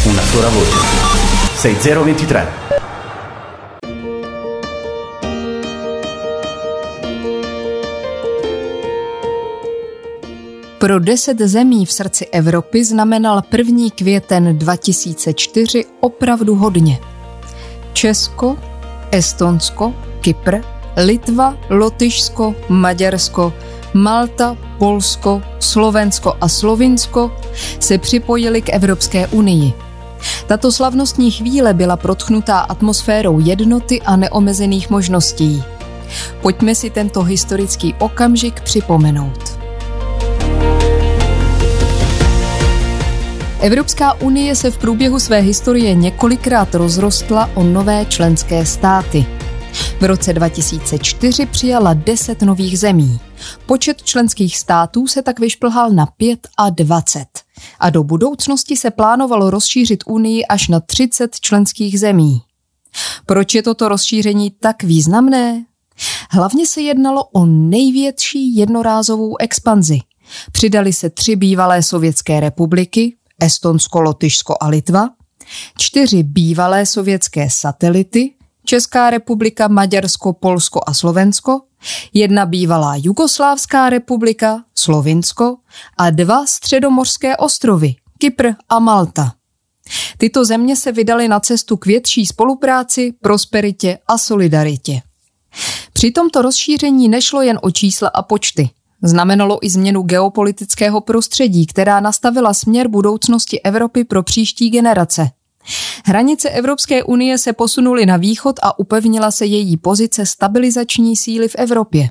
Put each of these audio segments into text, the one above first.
Una sola voce. 6023. Pro deset zemí v srdci Evropy znamenal 1. květen 2004 opravdu hodně. Česko, Estonsko, Kypr, Litva, Lotyšsko, Maďarsko, Malta, Polsko, Slovensko a Slovinsko se připojili k Evropské unii. Tato slavnostní chvíle byla protchnutá atmosférou jednoty a neomezených možností. Pojďme si tento historický okamžik připomenout. Evropská unie se v průběhu své historie několikrát rozrostla o nové členské státy. V roce 2004 přijala 10 nových zemí. Počet členských států se tak vyšplhal na 25. A do budoucnosti se plánovalo rozšířit unii až na 30 členských zemí. Proč je toto rozšíření tak významné? Hlavně se jednalo o největší jednorázovou expanzi. Přidali se tři bývalé sovětské republiky, Estonsko, Lotyšsko a Litva, čtyři bývalé sovětské satelity, Česká republika, Maďarsko, Polsko a Slovensko, jedna bývalá Jugoslávská republika, Slovinsko a dva středomořské ostrovy, Kypr a Malta. Tyto země se vydaly na cestu k větší spolupráci, prosperitě a solidaritě. Při tomto rozšíření nešlo jen o čísla a počty. Znamenalo i změnu geopolitického prostředí, která nastavila směr budoucnosti Evropy pro příští generace. Hranice Evropské unie se posunuly na východ a upevnila se její pozice stabilizační síly v Evropě.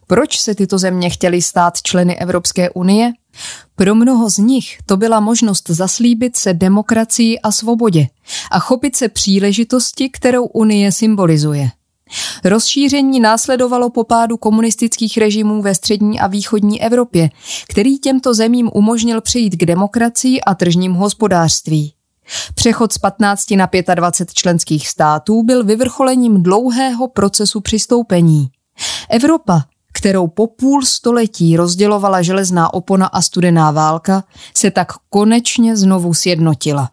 Proč se tyto země chtěly stát členy Evropské unie? Pro mnoho z nich to byla možnost zaslíbit se demokracii a svobodě a chopit se příležitosti, kterou Unie symbolizuje. Rozšíření následovalo po pádu komunistických režimů ve střední a východní Evropě, který těmto zemím umožnil přejít k demokracii a tržním hospodářství. Přechod z 15 na 25 členských států byl vyvrcholením dlouhého procesu přistoupení. Evropa, kterou po půl století rozdělovala železná opona a studená válka, se tak konečně znovu sjednotila.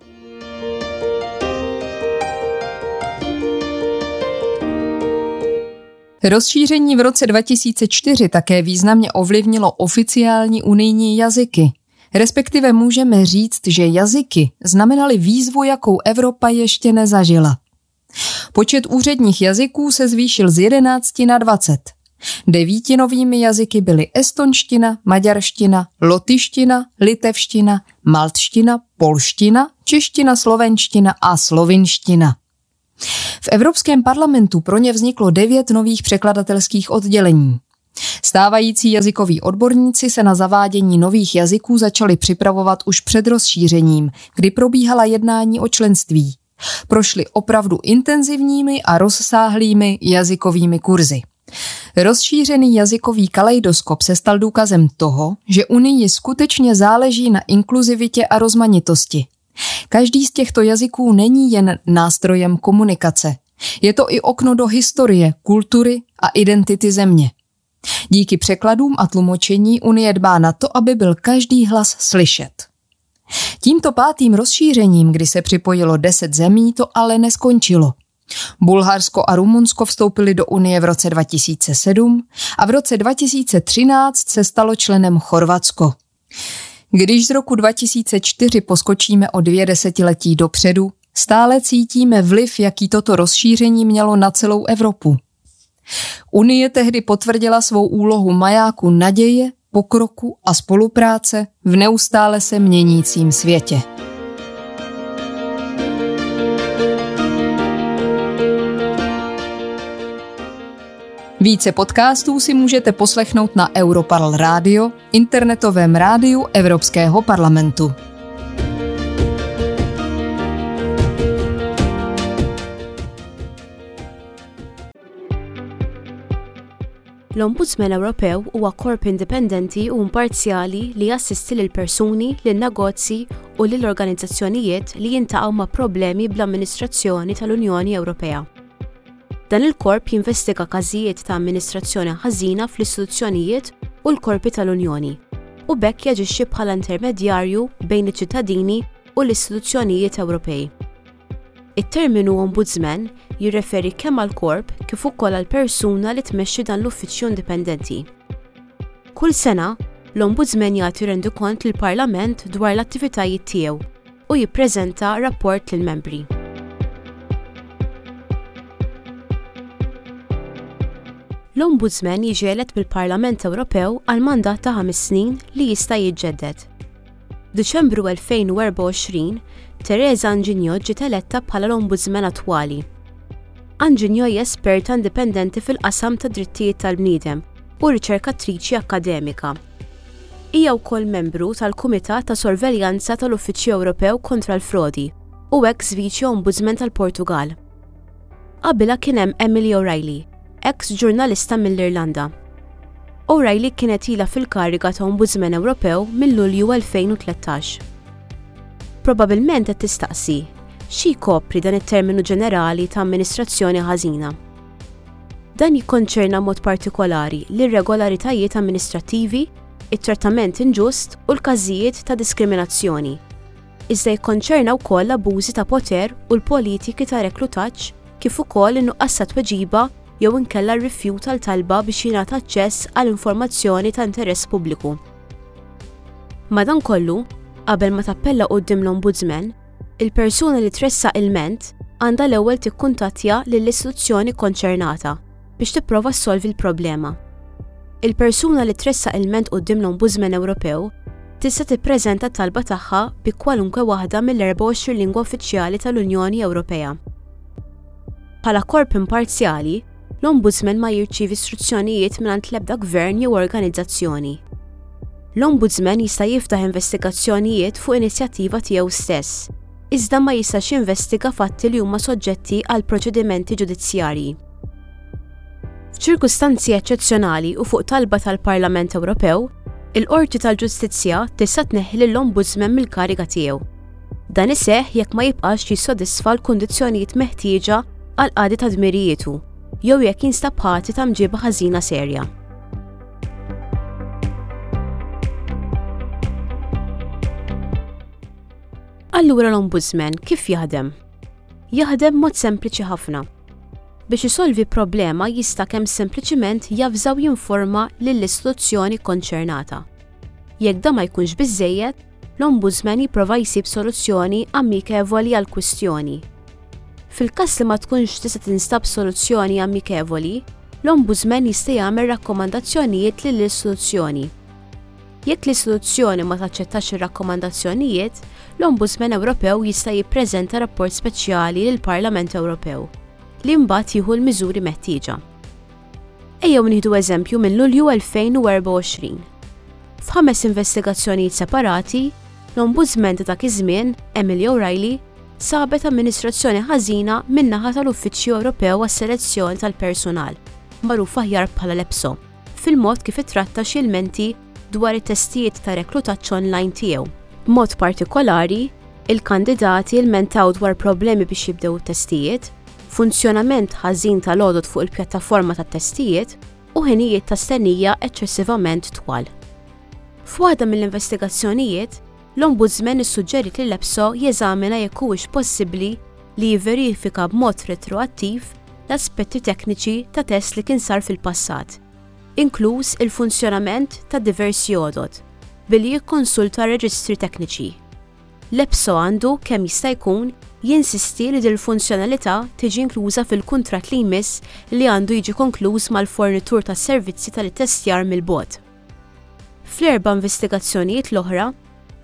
Rozšíření v roce 2004 také významně ovlivnilo oficiální unijní jazyky. Respektive můžeme říct, že jazyky znamenaly výzvu, jakou Evropa ještě nezažila. Počet úředních jazyků se zvýšil z 11 na 20. Devíti novými jazyky byly estonština, maďarština, lotyština, litevština, maltština, polština, čeština, slovenština a slovinština. V Evropském parlamentu pro ně vzniklo devět nových překladatelských oddělení. Stávající jazykoví odborníci se na zavádění nových jazyků začali připravovat už před rozšířením, kdy probíhala jednání o členství. Prošli opravdu intenzivními a rozsáhlými jazykovými kurzy. Rozšířený jazykový kaleidoskop se stal důkazem toho, že Unii skutečně záleží na inkluzivitě a rozmanitosti. Každý z těchto jazyků není jen nástrojem komunikace. Je to i okno do historie, kultury a identity země. Díky překladům a tlumočení Unie dbá na to, aby byl každý hlas slyšet. Tímto pátým rozšířením, kdy se připojilo 10 zemí, to ale neskončilo. Bulharsko a Rumunsko vstoupili do Unie v roce 2007 a v roce 2013 se stalo členem Chorvatsko. Když z roku 2004 poskočíme o dvě desetiletí dopředu, stále cítíme vliv, jaký toto rozšíření mělo na celou Evropu. Unie tehdy potvrdila svou úlohu majáku naděje, pokroku a spolupráce v neustále se měnícím světě. Více podcastů si můžete poslechnout na Europarl Radio, internetovém rádiu Evropského parlamentu. L-Ombudsman Ewropew huwa korp indipendenti u imparzjali li jassisti lil persuni, lin negozji u lil organizzazzjonijiet li jintaqgħu ma' problemi bl-amministrazzjoni tal-Unjoni Ewropea. Dan il-korp jinvestiga każijiet ta' amministrazzjoni ħażina fl-istituzzjonijiet u l-korpi tal-Unjoni, u b'hekk jaġixxi bħala intermedjarju bejn iċ-ċittadini u l-istituzzjonijiet Ewropej. It-terminu Ombudsman jirreferi kemm għall-korp kif ukoll għall-persuna li tmexxi dan l-uffiċċju indipendenti. Kull sena, l-Ombudsman jagħti rendikont lill-Parlament dwar l-attivitajiet tiegħu u jippreżenta rapport lill-membri. L-Ombudsman jiġi elett mill-Parlament Ewropew għal mandat ta' ħames snin li jista' jiġġedded. F'Diċembru 2024, Teresa Anginio ġiet eletta bħala l-Ombudsman attwali. Anginio hija esperta indipendenti fil-qasam tad-drittijiet tal-bniedem u riċerkatriċi akkademika. Hija wkoll membru tal-Kumitat ta' Sorveljanza tal-Uffiċċju Ewropew Kontra l-Frodi u eks Viċi Ombudsman tal-Portugall. Qabilha kien hemm Emily O'Reilly, eks ġurnalista mill-Irlanda. O'Reilly kienet ilha fil-kariga ta' Ombudsman Ewropew minn Lulju 2013. Probabilment qed tistaqsi, xi jkopri dan it-terminu ġenerali ta' amministrazzjoni ħażina? Dan jikkonċerna mod partikolari l-irregolaritajiet amministrattivi, it-trattament inġust u l-każijiet ta' diskriminazzjoni. Iżda jikkonċerna wkoll l-abbużi ta' poter u l-politiki ta' reklutaġġ kif ukoll in-nuqqas ta' tweġiba jew inkella r-rifjut għal talba biex jingħata aċċess għal informazzjoni ta' interess pubbliku. Madankollu, qabel ma tappella quddiem l-Ombudsman, il-persuna li tressaq ilment għandha l-ewwel tikkuntattja lill-istituzzjoni kkonċernata biex tipprova ssolvi l-problema. Il-persuna li tressaq ilment quddiem l-Ombudsman Ewropew tista' tippreżenta t-talba tagħha bi kwalunkwe waħda mill-24 lingwa uffiċjali tal-Unjoni Ewropea. Bħala korp imparzjali, l-Ombudsman ma jirċievi struzzjonijiet mingħand l-ebda gvern jew organizzazzjoni. L-Ombudsman jista' jiftaħ investigazzjonijiet fuq inizjattiva tiegħu stess, iżda ma jistax jinvestiga fatti li huma soġġetti għal proċedimenti ġudizzjarji. F'ċirkustanzi eċċezzjonali u fuq talba tal-Parlament Ewropew, il-Qorti tal-Ġustizzja tista' tneħħi lill-Ombudsman mill-kariga tiegħu. Dan iseħħ jekk ma jibqax jissodisfa l-kundizzjonijiet meħtieġa għall-qadi ta' dmirijietu jew jekk jinstab ħati ta' mġiba ħażina serja. Allura l-Ombudsman kif jaħdem? Jaħdem b'mod sempliċi ħafna. Biex isolvi problema jista' kemm sempliċiment javża u jinforma lill-istituzzjoni kkonċernata. Jekk dan ma jkunx biżżejjed, l-Ombudsman jipprova jsib soluzzjoni amikevoli għall-kwistjoni. Fil-każ li ma tkunx tista' tinstab soluzzjoni amikevoli, l-Ombudsman jista' jagħmel rakkomandazzjonijiet lill-istituzzjoni. Jekk l-istituzzjoni ma taċċettax ir-rakkomandazzjonijiet, l-Ombudsman Ewropew jista' jippreżenta rapport speċjali lill-Parlament Ewropew, li mbagħad jieħu l-miżuri meħtieġa. Ejjew nieħdu eżempju minn Lulju 2024. F'ħames investigazzjonijiet separati, l-Ombudsman ta' dak iż-żmien, Emily O'Reilly, sabet amministrazzjoni ħażina min-naħa tal-Uffiċċju Ewropew għas-Selezzjoni tal-Persunal, magħruf aħjar bħala l-EPSO. fil-mod kif ittratta xi lmenti dwar it-testijiet ta' reklutaġġ online tiegħu. B'mod partikolari, il-kandidati lmentaw dwar problemi biex jibdew it-testijiet, funzjonament ħażin tal-għodod fuq il-pjattaforma tat-testijiet u ħinijiet ta' stennija eċċessivament twal. F'waħda mill-investigazzjonijiet, l-Ombudsman issuġġeriet lill-EPSO jeżamina jekk huwiex possibbli li jivverifika b'mod retroattiv l-aspetti tekniċi ta' test li kien sar fil-passat, inkluż il-funzjonament ta' diversi għodod, billi jikkonsulta reġistri tekniċi. L-EPSO għandu, kemm jista' jkun, jinsisti li dil-funzjonalità tiġi inkluża fil-kuntratt li jmiss li għandu jiġi konkluż mal-fornitur tas-servizzi tal-ittestjar mill-bogħod. Fl-erba' investigazzjonijiet l-oħra,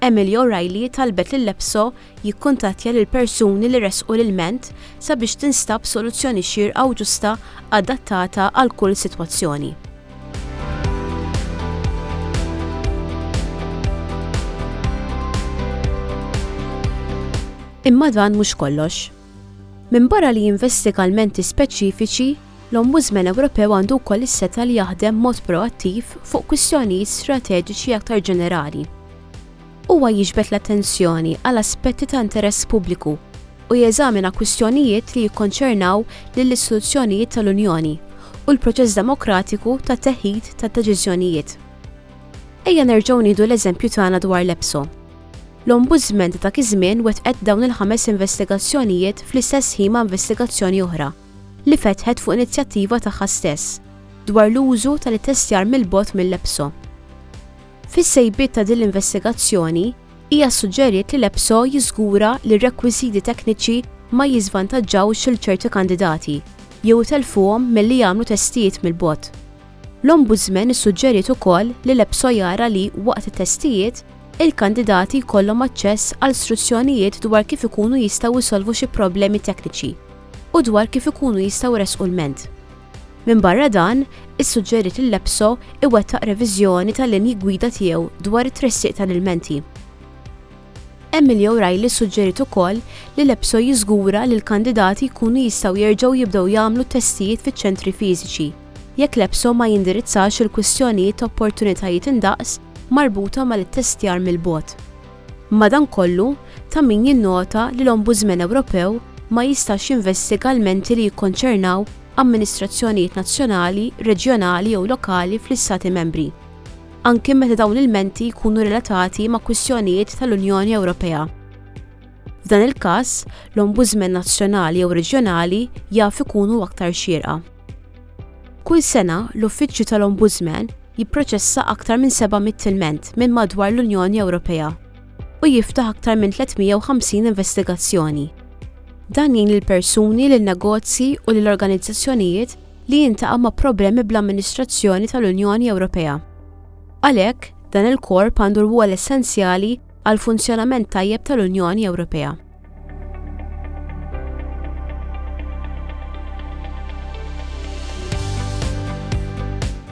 Emily O'Reilly talbet lill-EPSO jikkuntattja lill-persuni li ressqu l-ilment sabiex tinstab soluzzjoni xierqa u ġusta adattata għal kull sitwazzjoni. Imma dan mhux kollox. Minbarra li jinvestiga lmenti speċifiċi, l-Ombudsman Ewropew għandu wkoll is-setgħa li jaħdem b'mod proattiv fuq kwistjonijiet strateġiċi aktar ġenerali. Huwa jiġbed l-attenzjoni għal aspetti ta' interess pubbliku u jeżamina kwistjonijiet li jikkonċernaw lill-istituzzjonijiet tal-Unjoni u l-proċess demokratiku ta' teħid ta' deċiżjonijiet. Ejja nerġgħu nieħdu l-eżempju tagħna dwar l-EPSO. L-Ombudsman ta' dak iż-żmien wettqet dawn il-ħames investigazzjonijiet fl-istess ħin ma' investigazzjoni oħra, li fetħet fuq inizjattiva tagħha stess, dwar l-użu tal-ittestjar mill-bogħod mill-EPSO. Fis-sejbiet ta' din l-investigazzjoni, hija ssuġġeriet li l-EPSO jiżgura li r-rekwiżiti tekniċi ma jiżvantaġġawx lil ċerti kandidati jew itellfuhom milli jagħmlu testijiet mill-bogħod. L-Ombudsman issuġġeriet ukoll li l-EPSO jara li, waqt it-testijiet, il-kandidati jkollhom aċċess għal struzzjonijiet dwar kif ikunu jistgħu jsolvu xi problemi tekniċi u dwar kif ikunu jistgħu jressqu lment. Minbarra dan, issuġġeriet li l-EPSO iwettaq reviżjoni tal-linji gwida tiegħu dwar it-tressiq tal-ilmenti. Emily O'Reilly ssuġġeriet ukoll li l-EPSO jiżgura li l-kandidati jkunu jistgħu jerġgħu jibdew jagħmlu t-testijiet fiċ-ċentri fiżiċi, jekk l-EPSO ma jindirizzax il-kwistjonijiet ta' opportunitajiet indaqs marbuta mal-ittestjar mill-bogħod. Madankollu, ta' min jinnota li l-Ombudsman Ewropew ma jistax jinvestiga lmenti li jikkonċernaw amministrazzjonijiet nazzjonali, reġjonali jew lokali fl-Istati Membri. anki meta dawn l-ilmenti jkunu relatati ma' kwistjonijiet tal-Unjoni Ewropea. F'dan il-każ, l-Ombudsman nazzjonali jew reġjonali jaf ikunu aktar xierqa. Kull sena, l-Uffiċċju tal-Ombudsman jipproċessa aktar minn 700 ilment minn madwar l-Unjoni Ewropea u jiftaħ aktar minn 350 investigazzjoni. Dan jgħin lill-persuni, lin-negozji u lill-organizzazzjonijiet li jiltaqa' ma' problemi bl-amministrazzjoni tal-Unjoni Ewropea. Għalhekk, dan il-korp għandu rwol essenzjali għall-funzjonament tajjeb tal-Unjoni Ewropea.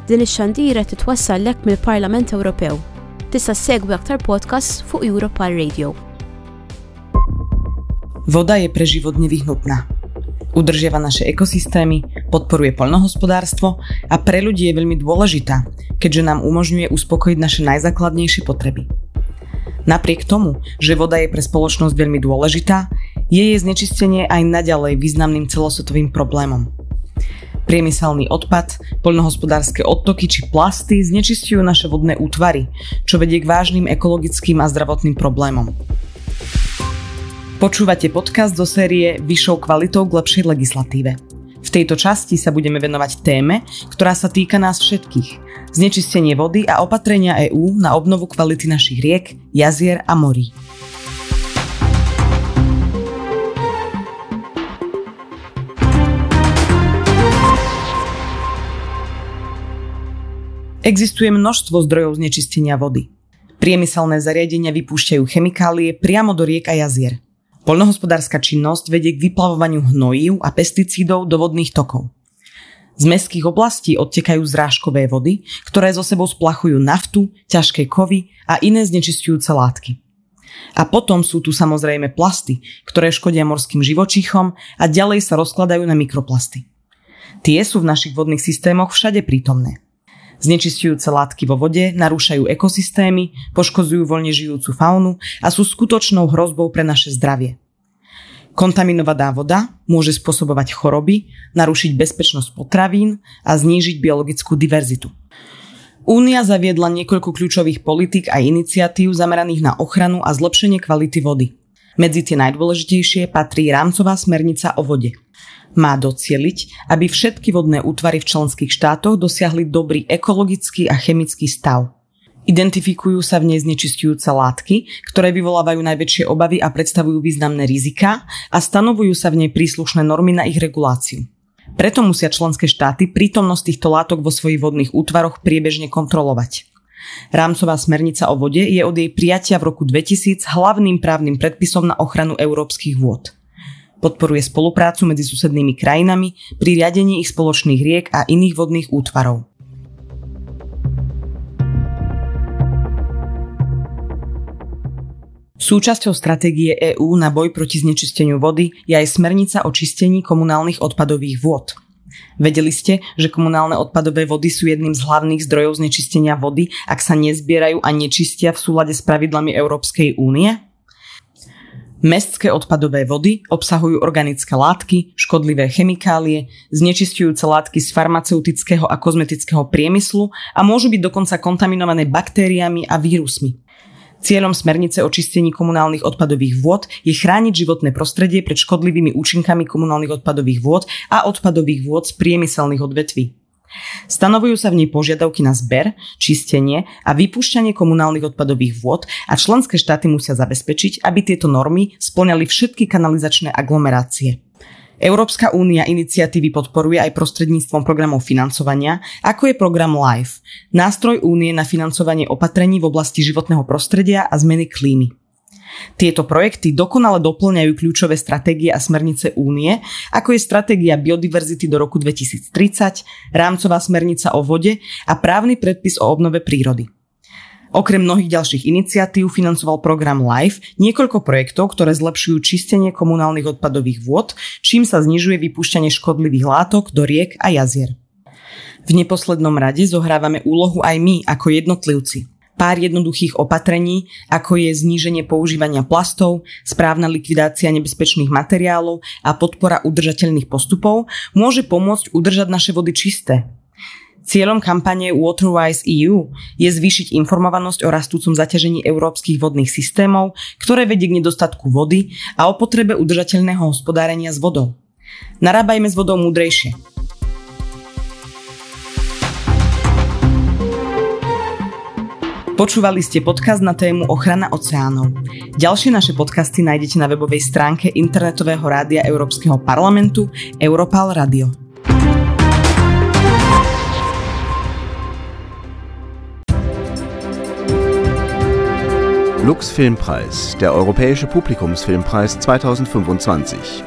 Din ix-xandira titwassallek mill-Parlament Ewropew. Tista' ssegwi aktar podcasts fuq Europal Radio. Voda je pre život nevyhnutná. Udržiava naše ekosystémy, podporuje poľnohospodárstvo a pre ľudí je veľmi dôležitá, keďže nám umožňuje uspokojiť naše najzákladnejšie potreby. Napriek tomu, že voda je pre spoločnosť veľmi dôležitá, je jej znečistenie aj naďalej významným celosvetovým problémom. Priemyselný odpad, poľnohospodárske odtoky či plasty znečisťujú naše vodné útvary, čo vedie k vážnym ekologickým a zdravotným problémom. Počúvate podcast zo série Vyššou kvalitou k lepšej legislatíve. V tejto časti sa budeme venovať téme, ktorá sa týka nás všetkých. Znečistenie vody a opatrenia EÚ na obnovu kvality našich riek, jazier a morí. Existuje množstvo zdrojov znečistenia vody. Priemyselné zariadenia vypúšťajú chemikálie priamo do riek a jazier. Poľnohospodárska činnosť vedie k vyplavovaniu hnojív a pesticídov do vodných tokov. Z mestských oblastí odtekajú zrážkové vody, ktoré zo sebou splachujú naftu, ťažké kovy a iné znečisťujúce látky. A potom sú tu samozrejme plasty, ktoré škodia morským živočíchom a ďalej sa rozkladajú na mikroplasty. Tie sú v našich vodných systémoch všade prítomné. Znečisťujúce látky vo vode narúšajú ekosystémy, poškodzujú voľne žijúcu faunu a sú skutočnou hrozbou pre naše zdravie. Kontaminovaná voda môže spôsobovať choroby, narušiť bezpečnosť potravín a znížiť biologickú diverzitu. Únia zaviedla niekoľko kľúčových politík a iniciatív zameraných na ochranu a zlepšenie kvality vody. Medzi tie najdôležitejšie patrí rámcová smernica o vode. Má docieliť, aby všetky vodné útvary v členských štátoch dosiahli dobrý ekologický a chemický stav. Identifikujú sa v nej znečisťujúce látky, ktoré vyvolávajú najväčšie obavy a predstavujú významné riziká a stanovujú sa v nej príslušné normy na ich reguláciu. Preto musia členské štáty prítomnosť týchto látok vo svojich vodných útvaroch priebežne kontrolovať. Rámcová smernica o vode je od jej prijatia v roku 2000 hlavným právnym predpisom na ochranu európskych vôd. Podporuje spoluprácu medzi susednými krajinami pri riadení ich spoločných riek a iných vodných útvarov. Súčasťou stratégie EÚ na boj proti znečisteniu vody je aj smernica o čistení komunálnych odpadových vôd. Vedeli ste, že komunálne odpadové vody sú jedným z hlavných zdrojov znečistenia vody, ak sa nezbierajú a nečistia v súlade s pravidlami Európskej únie? Mestské odpadové vody obsahujú organické látky, škodlivé chemikálie, znečisťujúce látky z farmaceutického a kozmetického priemyslu a môžu byť dokonca kontaminované baktériami a vírusmi. Cieľom smernice o čistení komunálnych odpadových vôd je chrániť životné prostredie pred škodlivými účinkami komunálnych odpadových vôd a odpadových vôd z priemyselných odvetví. Stanovujú sa v nej požiadavky na zber, čistenie a vypúšťanie komunálnych odpadových vôd a členské štáty musia zabezpečiť, aby tieto normy spĺňali všetky kanalizačné aglomerácie. Európska únia iniciatívy podporuje aj prostredníctvom programov financovania, ako je program LIFE, nástroj únie na financovanie opatrení v oblasti životného prostredia a zmeny klímy. Tieto projekty dokonale dopĺňajú kľúčové stratégie a smernice únie, ako je stratégia biodiverzity do roku 2030, rámcová smernica o vode a právny predpis o obnove prírody. Okrem mnohých ďalších iniciatív financoval program LIFE niekoľko projektov, ktoré zlepšujú čistenie komunálnych odpadových vôd, čím sa znižuje vypúšťanie škodlivých látok do riek a jazier. V neposlednom rade zohrávame úlohu aj my ako jednotlivci. Pár jednoduchých opatrení, ako je zníženie používania plastov, správna likvidácia nebezpečných materiálov a podpora udržateľných postupov, môže pomôcť udržať naše vody čisté. Cieľom kampane Waterwise EU je zvýšiť informovanosť o rastúcom zaťažení európskych vodných systémov, ktoré vedie k nedostatku vody a o potrebe udržateľného hospodárenia s vodou. Narábajme s vodou múdrejšie. Počúvali ste podcast na tému ochrana oceánov. Ďalšie naše podcasty nájdete na webovej stránke internetového rádia Európskeho parlamentu Europarl Radio. Lux Filmpreis, der Europäische Publikumsfilmpreis 2025.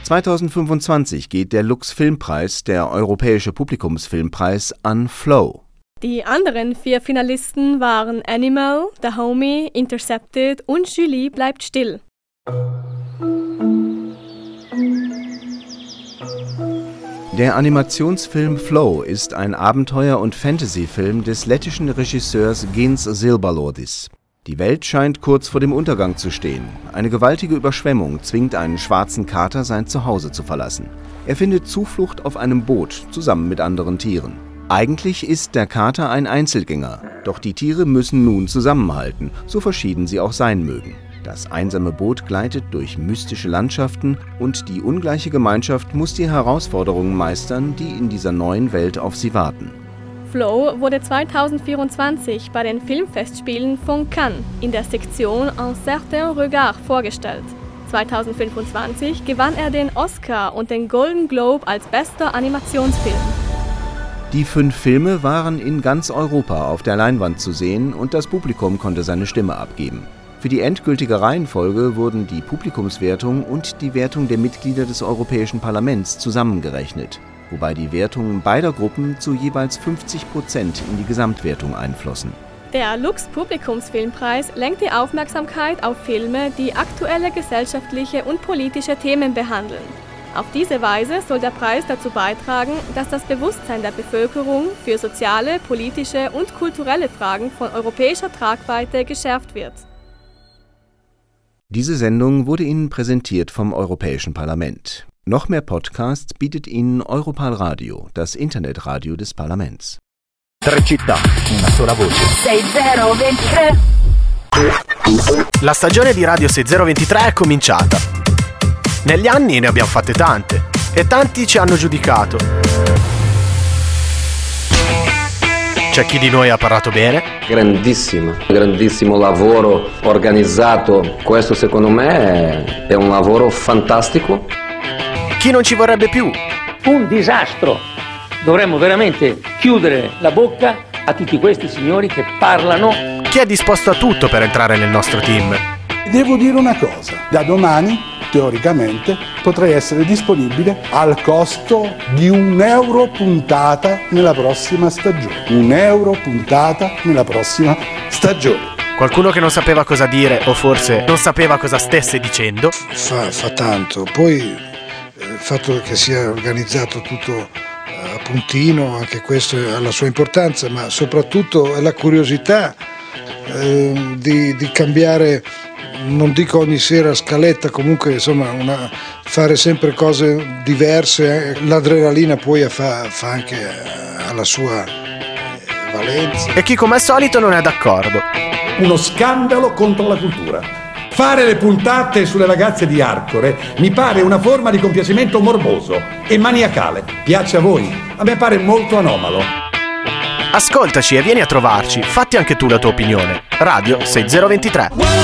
2025 geht der Lux Filmpreis, der Europäische Publikumsfilmpreis, an Flow. Die anderen vier Finalisten waren Animal, The Homie, Intercepted und Julie bleibt still. Der Animationsfilm Flow ist ein Abenteuer- und Fantasyfilm des lettischen Regisseurs Gints Zilbalodis. Die Welt scheint kurz vor dem Untergang zu stehen. Eine gewaltige Überschwemmung zwingt einen schwarzen Kater, sein Zuhause zu verlassen. Er findet Zuflucht auf einem Boot zusammen mit anderen Tieren. Eigentlich ist der Kater ein Einzelgänger, doch die Tiere müssen nun zusammenhalten, so verschieden sie auch sein mögen. Das einsame Boot gleitet durch mystische Landschaften und die ungleiche Gemeinschaft muss die Herausforderungen meistern, die in dieser neuen Welt auf sie warten. Flow wurde 2024 bei den Filmfestspielen von Cannes in der Sektion Un certain Regard vorgestellt. 2025 gewann er den Oscar und den Golden Globe als bester Animationsfilm. Die fünf Filme waren in ganz Europa auf der Leinwand zu sehen und das Publikum konnte seine Stimme abgeben. Für die endgültige Reihenfolge wurden die Publikumswertung und die Wertung der Mitglieder des Europäischen Parlaments zusammengerechnet, wobei die Wertungen beider Gruppen zu jeweils 50 Prozent in die Gesamtwertung einflossen. Der Lux Publikumsfilmpreis lenkt die Aufmerksamkeit auf Filme, die aktuelle gesellschaftliche und politische Themen behandeln. Auf diese Weise soll der Preis dazu beitragen, dass das Bewusstsein der Bevölkerung für soziale, politische und kulturelle Fragen von europäischer Tragweite geschärft wird. Diese Sendung wurde Ihnen präsentiert vom Europäischen Parlament. Noch mehr Podcasts bietet Ihnen Europarl Radio, das Internetradio des Parlaments. Tre città, una sola voce. 6023. La stagione di Radio 6023 è cominciata. Negli anni ne abbiamo fatte tante e tanti ci hanno giudicato. C'è chi di noi ha parlato bene, Grandissimo, grandissimo lavoro organizzato. Questo secondo me è, è un lavoro fantastico. chi non ci vorrebbe più Un disastro. Dovremmo veramente chiudere la bocca a tutti questi signori che parlano chi è disposto a tutto per entrare nel nostro team. Devo dire una cosa, da domani, teoricamente, potrei essere disponibile al costo di un euro puntata nella prossima stagione. Un euro puntata nella prossima stagione. Qualcuno che non sapeva cosa dire o forse non sapeva cosa stesse dicendo. Fa, fa tanto, poi eh, il fatto che sia organizzato tutto eh, a puntino, anche questo ha la sua importanza, ma soprattutto è la curiosità eh, di, di cambiare, non dico ogni sera scaletta, comunque insomma una- fare sempre cose diverse, eh, l'adrenalina poi fa, fa anche eh, alla sua eh, Valenza. E chi come al solito non è d'accordo. Uno scandalo contro la cultura. Fare le puntate sulle ragazze di Arcore mi pare una forma di compiacimento morboso e maniacale. Piace a voi? A me pare molto anomalo. Ascoltaci e vieni a trovarci, fatti anche tu la tua opinione. Radio 6023.